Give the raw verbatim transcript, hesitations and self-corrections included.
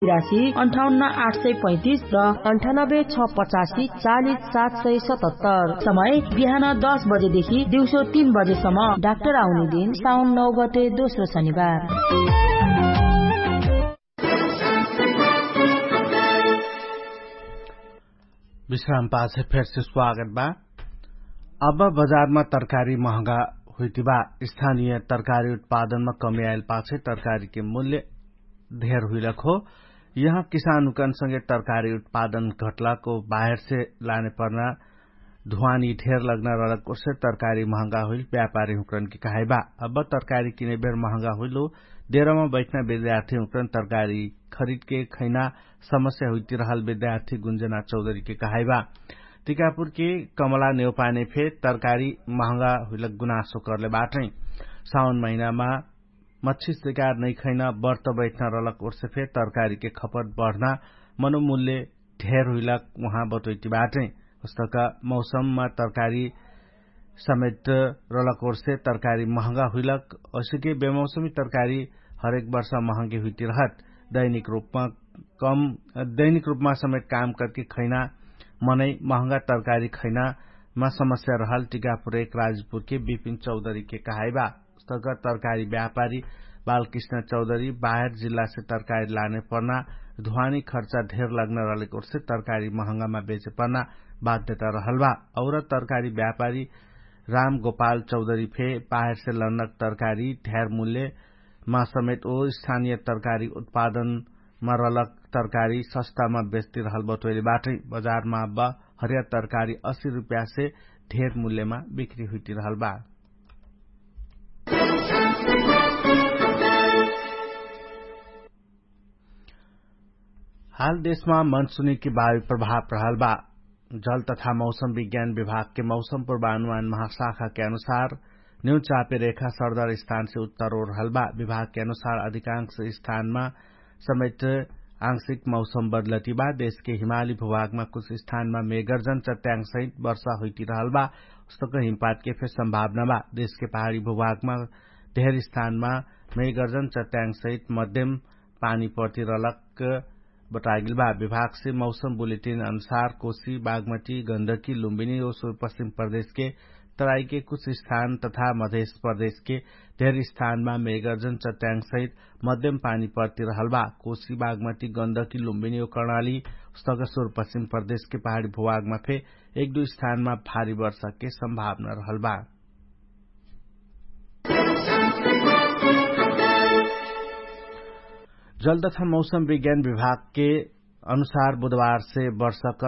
राशि अन्ठाउन्न आठ सय पैँतिस र अन्ठानब्बे छ पचासी चालिस सात सय सतहत्तर। समय बिहान दस बजेदेखि दिउँसो तीन बजेसम्म। डाक्टर आउने दिन साउन नौ गते दोस्रो शनिबार। विश्राम पाछे फेरसे स्वागत बा। अब बजारमा तरकारी महँगा हुइतिबा। स्थानीय तरकारी उत्पादनमा कमी आइल पाछे तरकारीके मूल्य धेर हुइलक हो। यहाँ किसानुकनसँगे तरकारी उत्पादन घटलाको बाहेरसे लाने पर्ना धुवानी धेर लग्ना रहलक ओर्से तरकारी महँगा हुइल व्यापारी हुँकरनके कहाइबा। अब तरकारी किने बेर महँगा हुइल हो। देरमा बैठना विद्यार्थी हुँकरन तरकारी खरिदके खैना समस्या हुइतिरहल विद्यार्थी गुन्जना चौधरीके कहाइबा। तिकापुरके कमला नेउपाने फे तरकारी महँगा हुइलक गुनासो करले बाटै। साउन महिनामा मच्छी सिकार नैखैन बर्त बैठ्न रहलक ओर्से फे तरकारीके खपत बढ्न मनोमूल्य धेर हुइलक उहाँ बटोइटी बाटै। उस्तक मौसममा तरकारी समेट रहलक ओर्से तरकारी महँगा हुइलक। असिके बेमौसमी तरकारी हरेक वर्ष महँगे हुइटी रहत। दैनिक रूपमा कम दैनिक रूपमा समेट काम करके खैना मनै महँगा तरकारी खैनामा समस्या रहल टिकापुर एक राजपुरके विपिन चौधरीके कहाइबा। उस्तक तरकारी व्यापारी बालकृष्ण चौधरी बाहेर जिल्लासे तरकारी लाने पर्ना धुवानी खर्चा धेर लग्न रहलेक ओर्से तरकारी महँगामा बेचे पर्ना बाध्यता रहल बा। और तरकारी व्यापारी राम गोपाल चौधरी फे बाहेरसे लन्नक तरकारी धेर मूल्यमा समेट ओ स्थानीय तरकारी उत्पादनमा रहलक तरकारी सस्तामा बेच्तिरहल बटोइले बाटै। बजारमा अब हरिया तरकारी अस्सी रुप्यासे धेर मूल्यमा बिक्री हुइटिरहल बा। हाल देशमा मनसुनीकी बावी प्रभाव रहल बा। जल तथा मौसम विज्ञान विभागके मौसम पूर्वानुमान महाशाखाके अनुसार न्यू चापे रेखा सरदर स्थानसे उत्तर ओरहल बा। विभागके अनुसार अधिकांश स्थानमा समेट आंशिक मौसम बदलती बा। देशके हिमाली भूभागमा कुछ स्थानमा मेगर्जन चट्याङ्ग सहित वर्षा हुइटिरहल बा। उस्तक हिमपातके फे सम्भावना बा। देशके पहाडी भूभागमा धेर स्थानमा मेगर्जन चट्याङ्ग सहित मध्यम पानी पर्तिरहलक बटागिल बा। विभागसे मौसम बुलेटिन अनुसार कोशी बागमटी गन्दकी लुम्बिनी ओ सुरपश्चिम प्रदेशके तराईके कुछ स्थान तथा मधेश प्रदेशके धेर स्थानमा मेगर्जन चट्याङ्ग सहित मध्यम पानी पर्तिरहल बा। कोशी बागमटी गन्दकी लुम्बिनी ओ कर्णाली उस्तक सुरपश्चिम प्रदेशके पहाडी भूभागमा फे एक दुई स्थानमा भारी वर्षाके सम्भावना रहल बा। जल तथा मौसम विज्ञान विभागके अनुसार बुधबारसे वर्षा कर्म